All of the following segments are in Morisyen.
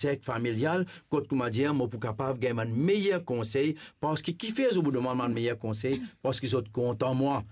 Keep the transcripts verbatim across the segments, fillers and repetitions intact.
serk familial, kot, kouma dir, mo pou kapav gagn bann meyer konsey, parski kifer zot pou demann bann meyer konsey? Parski zot kontan mwa.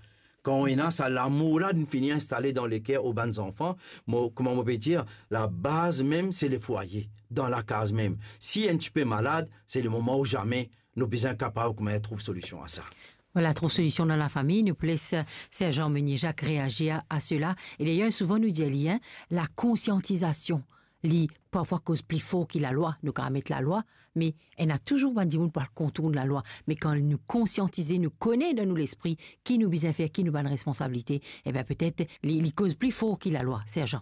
Kan ena sa lamour la, linn fini instale dan leker ou bann zanfan, mo, kouma mo pe dir, labaz mem, se lefwaye, dan lakaz mem. Si enn tipe malad, se lemoman ou zame, nou bizin kapav kouma trouv solision a sa. Vwala, trouv solision dan lafami, nou pou les, eh, Serjan Meunier Jacques reazir a, a sela. E dayer, souvan nou dir li, hein, lakonsiantizasion, li parfwa koz pli for ki lalwa, nou kapav met lalwa, me ena touzour bann dimoun pou al kontourn lalwa. Me kan nou konsiantize, nou kone dan nou lespri ki nou bizin fer, ki nou bann responsabilite, e ben, petet li, li koz pli for ki lalwa, Serjan.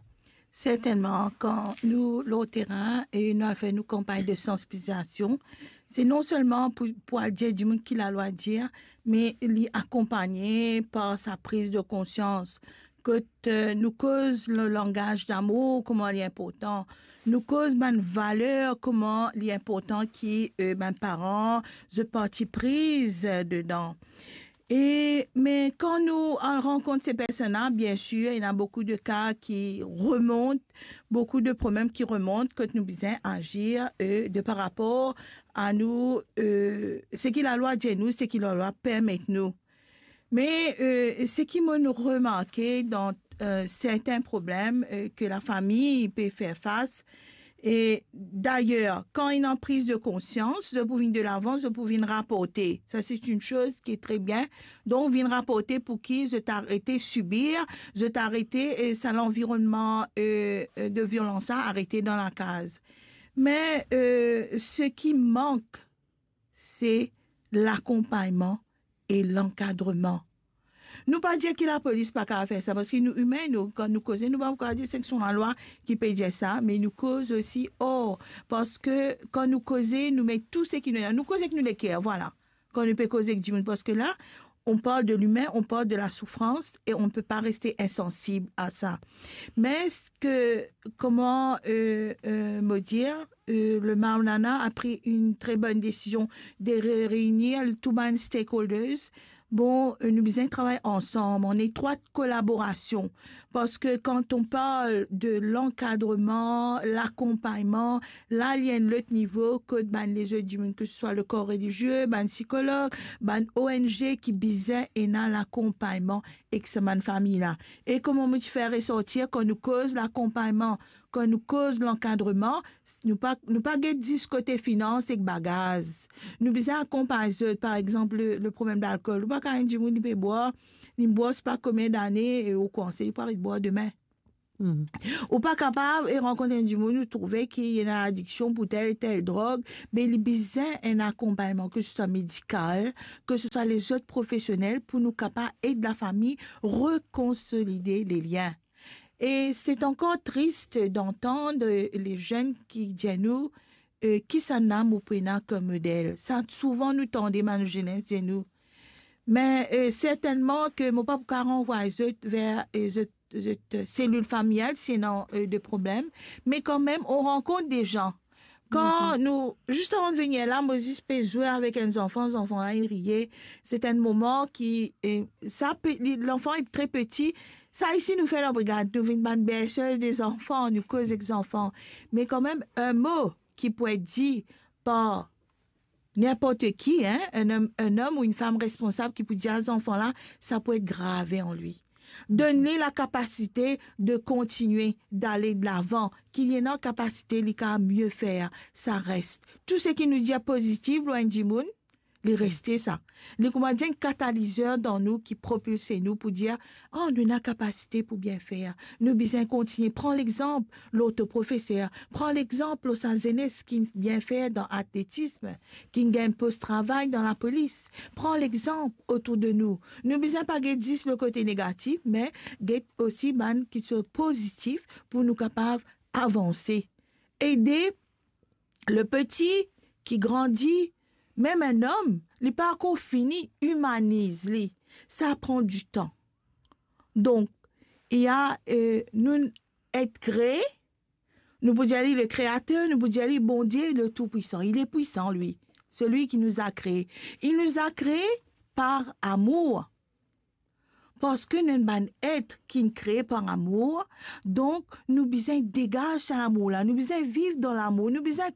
Sertennman, kan nou lor terin e nou al fer nou kanpagn de sansibilizasion, se non selman pou, pou al dir dimoun ki lalwa dir, me li akonpagne par sa priz de konsians. Kot, eh, nou koz le langaz damour, kouma li inportan. Nou koz bann valer, kouma li inportan ki, eh, bann paran, zot parti priz, eh, dedan. E, me kan nou al rankont se personn la, biensir, ena boukou de ka ki remont, boukou de problem ki remont, kot nou bizin azir, eh, de par rapor a nou, eh, seki lalwa dir nou, seki lalwa permet nou. Me, eh, seki mo remarke dan, eh, sertin problem, eh, ke lafami pe fer fas, e dayer, kan ena priz de konsians, zot pou vinn delavan, zot pou vinn raporte. Sa, se enn soz ki tre bien. Donk, vinn raporte pou ki zot arete sibir, zot arete, eh, sa lanvironnman, eh, eh, de violans la, arete dan lakaz. Me, eh, seki mank, se lakonpagnman e lankadreman. Nou pa dir ki lapolis pa kapav fer sa, parski nou imin, nou, kan nou koze, nou pa kapav dir seki son lalwa ki pe dir sa, me nou koz osi, or, parski kan nou koze, nou met tou seki nou ena, nou koz ek nou leker, vwala. Kan nou pe koz ek dimoun, parski la, on parle de l'humain, on parle de la souffrance et on ne peut pas rester insensible à ça. Mais ce que, comment, euh, euh, me dire, euh, le Maulana a pris une très bonne décision de ré-, réunir tout bann stakeholders. Bon, euh, nou bizin travay ansam, an etrwat kolaborasion. Parski kan on parl de lankadreman, lakonpagnman, la, li enn lot nivo kot bann lezot dimoun, ke se swa le kor relizie, bann sikolog, bann O N G ki bizin ena lakonpagnman ek sa bann fami la. E kouma mo ti fer resortir, kan nou koz lakonpagnman, kan nou koz lankadreman, nou pa, nou pa get zis kote finans ek bagaz. Nou bizin akonpagn zot, par exanp, le, le problem lalkol. Ou pa kapav dir enn dimoun li pe bwar, li bwar sipa konbien dane, e ou konsey li pou aret bwar demin. Hmm. Ou pa kapav, e, rankont enn dimoun, ou trouve ki li ena adiksion pou tel, tel drog, me li bizin enn akonpagnman, ke se swa medikal, ke se swa lezot profesionel, pou nou kapav ed lafami rekonsolide le lien. E se ankor tris d'antann le zenn ki dir nou, euh, kisannla mo pou ena kom model. Sa, souvan nou tande bann zenes dir nou. Me, euh, sertennman ke mo pa pou kapav ranvway zot ver, euh, zot, zot, euh, selil familial, si ena, euh, de problem. Me kanmem, on rankont de zan. Kan nou, zis avan de vini la, mo zis pe zwe avek enn zanfan, zanfan la, li riye. Se enn moman ki, euh, sa pe, li, lanfan li tre peti. Sa isi nou fer dan brigad, nou vinn bann berseuse de zanfan, nou koz ek zanfan. Me kanmem, enn mo ki pou et dir par ninport ki, hein, enn om, enn om ou enn fam responsab ki pou dir a zanfan la, sa pou et grave an li. Donn li lakapasite de kontinie, dale delavan, ki li ena kapasite li kapav mie fer, sa res. Tou seki nou dir pozitif lor enn dimoun, li reste sa. Li kouma dir enn katalizer dan nou ki propilse nou pou dir, "Ah, nou ena kapasite pou bien fer." Nou bizin kontinie. Pran lexanp lor to profeser. Pran lexanp lor sa zenes ki bien fer dan atletism, ki gagn post travay dan lapolis. Pran lexanp otour de nou. Nou bizin pa get zis le kote negatif, me get osi bann ki ti pozitif pou nou kapav avanse. Ede le peti ki grandi, mem enn om, li pa ankor fini imaniz li. Sa pran ditan. Donk, il y a, euh, nou et kree, nou pou dir li le Créateur, nou pou dir li Bondie, le Tout-Puissant. Il est puissant, lui, celui qui nous a créés. Il nous a créés par amour. Parski nou enn bann et ki'nn kree par lamour, donk nou bizin degaz sa lamour la, nou bizin viv dan lamour, nou bizin